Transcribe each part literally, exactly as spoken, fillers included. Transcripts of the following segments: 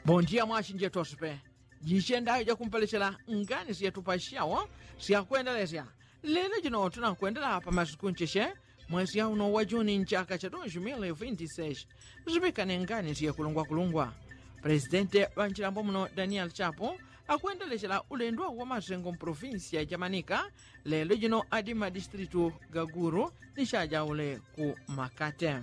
Bondia mwachinjeto sipe. Jichenda jakumpelechela ngani syatupasyawo syakwendelesya. Lelo jino tunakwendela pa masiku ncheche, mwesi yauno wa juni nchaka cha dos mil vinti seis. Zipikane ngani syekulungwakulungwa. Presidente ŵa nchilambo muno daniel chapo akwendelechela ulendo wa masengo mprovinsi ya jamanika. Lelo jino adi madistritu ga guru ni chajaule ku makate.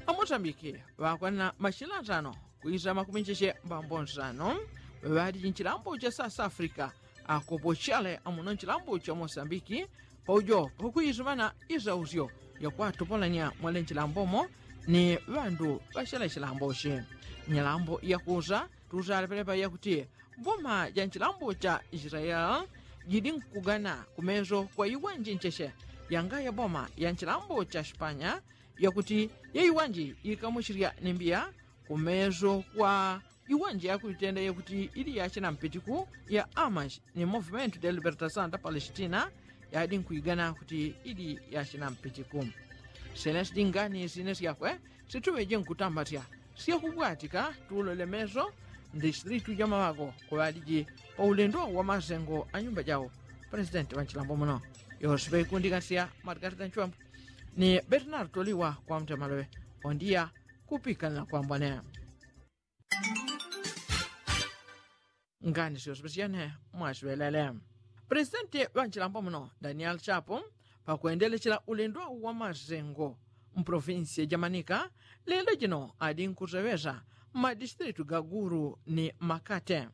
Amosambiki ŵakwanila mashila atano kwisa makumi ncheche mbambo nsano ŵali nchilambo cha south africa. Akopochale amuno nchilambo cha mosambiki paujo pakuisimana isausyo yakwatopolanya mwele nchilambomo ni ŵandu ŵachele chilambochi. Nyalambo yakusa tusalepelepa yakuti boma ja nchilambo cha israel jidi nkugana kumeso kwa iwanji ncheche yangaya boma ya nchilambo cha spanya yakuti yaiwanji ikamuchirya ni mbiya kumeso kwa iwanji yakuitenda yakuti ili yachina mpitiku ya amash ni movimento de libertasaun da palestina yadi nkuigana kuti ili yachina mpitiku. Sena sidingani sine syakwe situŵeje nkutambatya syakubwatika tulole meso. Ndisilitu jamaŵako kuŵaliji paulendo wa masengo anyumba jawo presidenti ŵa nchilambo muno yosiŵe ikundikasya margarita nchwambu ni bernardo liwa kwa mtemaloŵe. Ondiya kupikanila kwambwane. Ngani syosiŵe syene mwasiŵelele. Presidenti ŵa nchilambo muno daniel chapo pakwendelechela ulendo wa masengo mprovinsi ya jamanika lelo jino adi nkuseŵesa mmadistritu ga guru ni makate.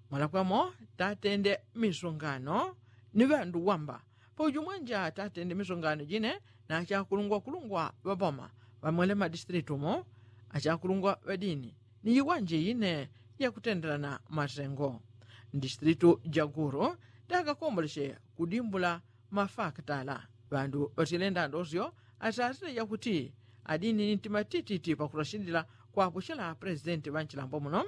Mwalakwamo tatende misungano ni ŵandu wamba pauju mwanja tatende misungano jine na achakulungwakulungwa ŵaboma ŵamwele mmadistritu mo achakulungwa ŵadini ni iwanji ine yakutendelana masengo. Ndistritu ja guru takakomboleche kudimbula mafakitala ŵandu ŵatyele ndandosyo asasile yakuti adini ni ntima tititi pakurashilila kwapuchela presidenti ŵa nchilambo muno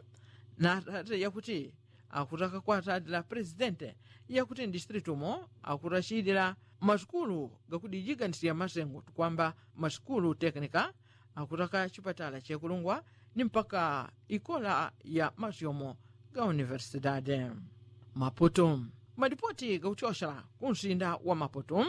na asasile yakuti akutaka kwasalila presidente yakuti ndistritu mo akutachilila masukulu gakudijiganisya masengo tukwamba masukulu tekinika akutaka chipatala chekulungwa ni mpaka ikola ya masyomo ga universidade. Maputu. Malipoti gakutyosela kunsinda wa maputu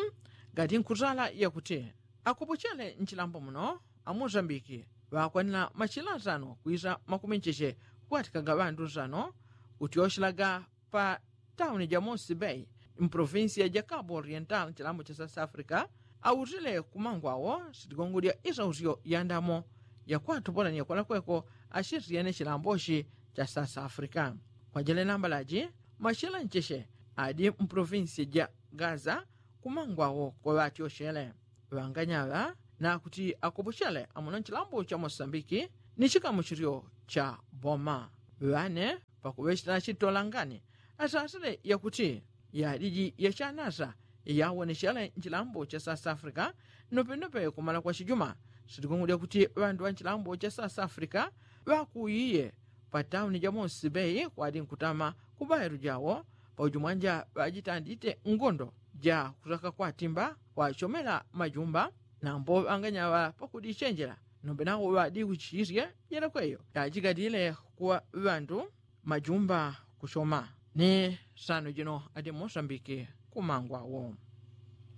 gati nkusala yakuti akopochele nchilambo muno amosambiki ŵakwanila machila nsano kwisa makumi ncheche kukwatika ga ŵandu nsano kutyoshelaga pa tauni ja mosi bei mprovinsi ya jakabo oriental nchilambo cha south africa. Autile kumangwawo sitigongo lya isausyo yandamo yakwatupolanya kwalakweko ashisyene chilambochi cha south africa. Kwajele nambalaji machila ncheche adi mprovinsi ja gaza kumangwawo koŵatyoshele. Ŵanganyaŵa nakuti akopochele amuno nchilambo cha mosambiki ni chikamuchilyo cha boma ŵane pakuŵechela chitolangani asasile yakuti yaliji yachanasa yawonechele nchilambo cha south africa. Nopenope kumala kwa chijuma sitikungulya kuti ŵandu ŵa nchilambo cha south africa ŵakuiye pa tauni ja mosi bei kwadi nkutama kubaelu jawo pauju mwanja ŵajitandite ngondo ja kutaka kwatimba kwachomela majumba. Nambo ŵanganyaŵa pakudichenjela nombe nawo ŵadikuchisye yelekweyo yajigadile kwa ŵandu majumba kuchoma ni sano jino adi mosambiki kumangwawo.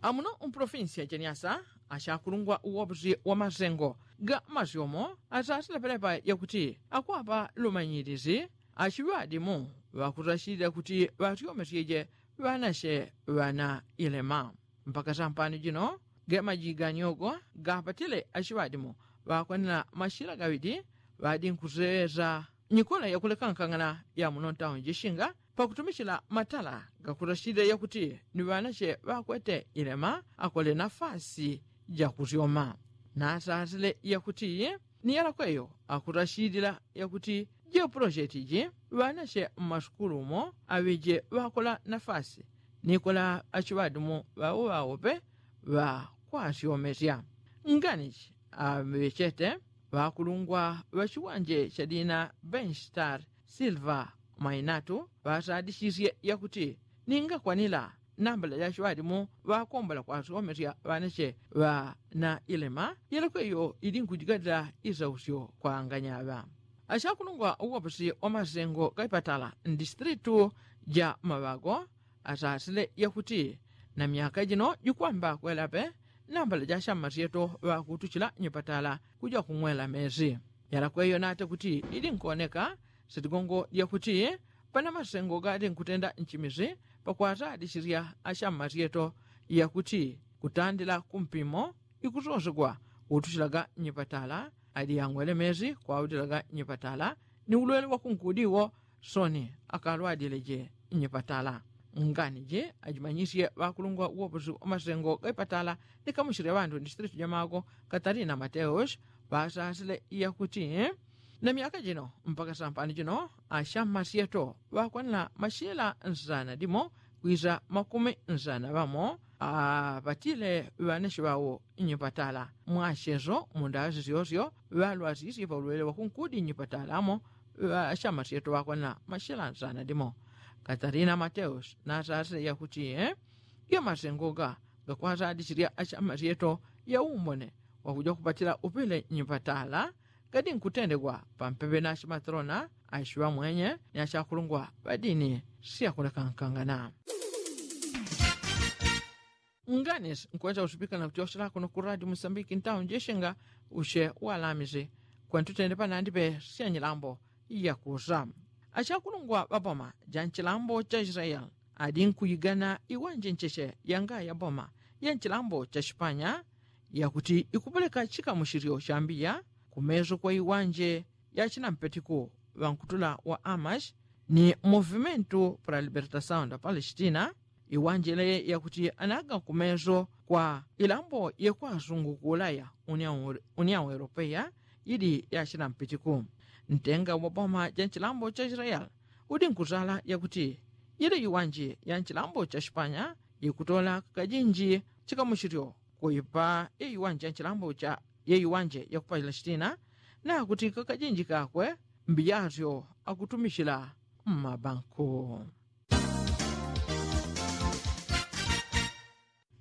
Amuno mprovinsi ya jeniasa achakulungwa uwopusi wa masengo ga masyomo asasila pelepa yakuti akwapa lumanyilisi achiŵadimu ŵakutachilila kuti ŵatyomesyeje ŵanache ŵana ilema. Mpaka sampano jino ge majiganyogo gapatile achiŵadimu ŵakwanila machila gaŵidi ŵadi nkusewesa nyikola yakulekankangana ya muno ntauni jishinga pakutumichila matala gakutachilila yakuti ni ŵanache ŵakwete ilema akole nafasi jakusyoma. Nasasile yakuti ni yalakweyo akutachilila yakuti jepulojeti ji ŵanache mmasukulu umo aŵeje ŵakola nafasi nikola achiŵadimu ŵawoŵawope ŵakwasyomesya. Nganichi aŵechete ŵakulungwa ŵachiwanje chadina benchstar silver mainatu ŵasadichisye yakuti ningakwanila nambala jachiŵadimu ŵakombola kwasyomesya ŵanache ŵana ilema yelekweyo ili nkujigadila isausyo kwa anganyaŵa. Achakulungwa uwapusi wa masengo gaipatala mdistritu ja maŵago asasile yakuti na myaka jino jikwamba kwelape nambala ja ashamasyeto ŵakutuchila nyipatala kuja kung'wela mesi. Yalakweyo nate kuti ilinkoneka sitigongo lyakuti pana masengo galinkutenda nchimisi pakwasalisisya ashamasyeto yakuti kutandila kumpimo ikusosegwa utuchilaga nyipatala ali yang'wele mesi kwautilaga nyipatala ni ulwele wakunkudiwo soni akalwadileje nyipatala. Ngani ji ajimanyisye ŵakulungwa uwoposi wa masengo gaipatala likamushile ŵandu distritu ja mago katarina mateus ŵasasile yakuti na myaka jino mpaka sampani jino ashamasyeto ŵakwanila mashila nsana dimo kwisa makumi nsana ŵamo apatile ŵanashi ŵawo nyipatala mwacheso mundasi syosyo ŵalwasisye paulwele wakunkudi nyipatala amo ŵashamasyeto ŵakwanila mashila nsana dimo. Katarina mateus nasasile yakuti gamasengo ga gakwasalisisya ashamasyeto yaumbone wakuja kupatila upile nyipatala gadinkutendegwa pampepe na ashimatrona ashiŵamwenye ni ashakulungwa ŵadini siyakulekankangana. Nganis nkwesa usipika na kutyoshela kuno ku radio musambiki ntawo njeshenga ushe walamisi kwentutende panandi pe syanyilambo yakusa. Ashakulungwa ŵaboma ja nchilambo cha israeli adi nkuyigana iwanje ncheche yanga yaboma ya nchilambo cha shipanya yakuti ikupeleka chikamushilyo shambiya kumeso kwa iwanje ya chinampetiku ŵankutula wa amash ni movimentu pra libertasaun da palestina iwanje le yakuti anaga kumeso kwa ilambo yekwasungu ku ulaya uniaun europeya ili ya chinampetiku. Ntenga wa boma ja nchilambo cha israeli udi nkusala yakuti ile iwanje ya nchilambo cha shipanya ikutola kakajinji chikamushilyo kuipa yeiwanje ya nchilambo cha yeiwanje ya ku palestina nakuti kakajinji kakwe mbiyasyo akutumishila mmabanku.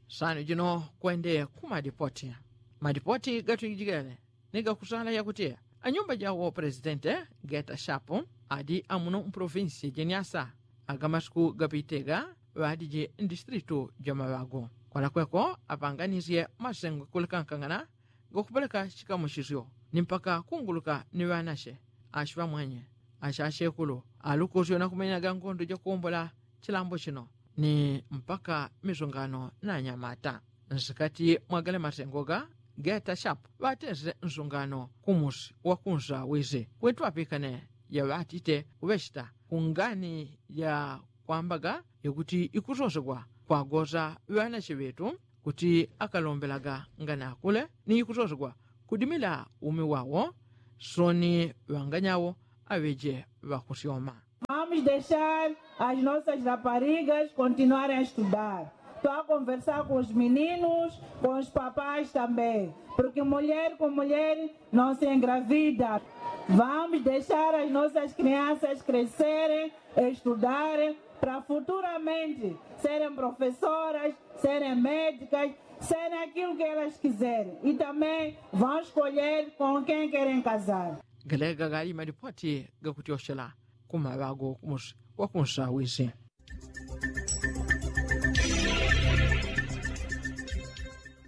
Sanu jino kwende ku madipoti madipoti gatwijigele ni gakusala yakuti anyumba jawo presidente geta shapu adi amuno mprovinsi jeniasa agamasiku gapitega ŵadiji mdistritu jamaŵagu kwalakweko apanganisye masengo kulekankangana gakupeleka chikamuchisyo ni mpaka kunguluka ni ŵanashe ashiŵamwenye ashashekulu alukusyo nakumenyaga ngondo jakuwombola chilambo chino ni mpaka misungano na anyamata. Nsikati mwagale masengo ga geta shapu ŵatesile nsungano kumusi wakunsawizi kwetu apikane yaŵatite kuŵechita kungani yakwambaga yakuti ikusosegwa kwagosa ŵanache ŵetu kuti akalombelaga ngani akule ni ikusosegwa kudimila umi wawo soni ŵanganyawo aŵeje ŵakusyoma. Vamos deixar as nossas raparigas continuarem a estudar. Estou a conversar com os meninos, com os papais também, porque mulher com mulher não se engravida. Vamos deixar as nossas crianças crescerem, estudarem, para futuramente serem professoras, serem médicas, serem aquilo que elas quiserem. E também vão escolher com quem querem casar. Galega gali madipoti gakutyoshela kumaŵago kumusi wakunsawizi.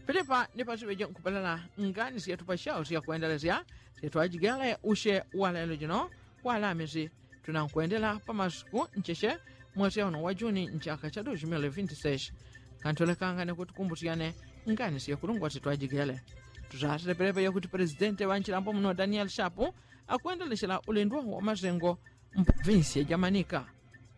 Pilipa ni pasiŵeje nkupelala ngani syetu pasyawo syakwendelesya syetwajigele usye walelo jino walamisi tunankwendela pamasiku ncheche mwesi auno wa juni nchaka cha dos mil vinti seis. Kantolekangane kuti kumbusyane ngani syekulungwa syetwajigele. Tusasile pelepe yakuti presidente ŵanchilambo muno daniel shapu akwendelechela ulindwa wa masengo mprovinsi ya jamanika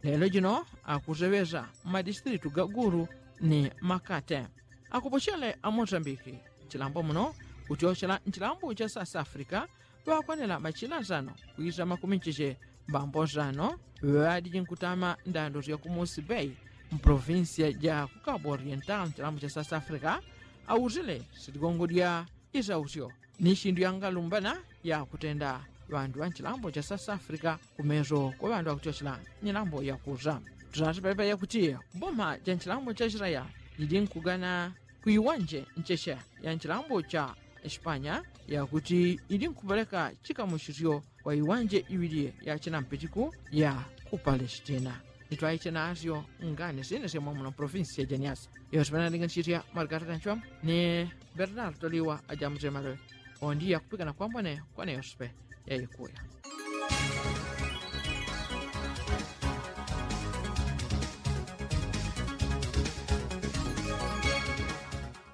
lelo jino akuseŵesa mmadistritu ga gulu ni makate. Akupochele a mosambiki chilambo muno kutyochela nchilambo cha south africa ŵakwanela machila nsano kwisa makumi ncheche mbambo nsano ŵadiji nkutama ndando sya kumusi bei mprovinsia ja ku cabo oriental nchilambo cha south africa. Ausile sitigongo dya isausyo ni shindu yangalumbana yakutenda ŵandu ŵa nchilambo cha south africa kumeso kwa ŵandu ŵakutyochela nyilambo yakusa. Tusasipelepe yakuti boma ja nchilambo cha israeli lili nkugana kuiwanje ncheche ya nchilambo cha espanya yakuti ili nkupeleka chikamuchisyo kwa iwanje iwilye ya chinampitiku ya ku palestina. Nitwaiche nasyo ngani sine sya mwamuno provinsi ya janiasa. Yosipena ndinga nchitya marikata tanchwamu ni bernardo liwa ajamutemaloyo. Ondi yakupikana kwambone kwane yosipe yaikuya.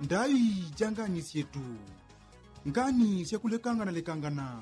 Ndayi janganisye tu ngani syakulekangana lekangana.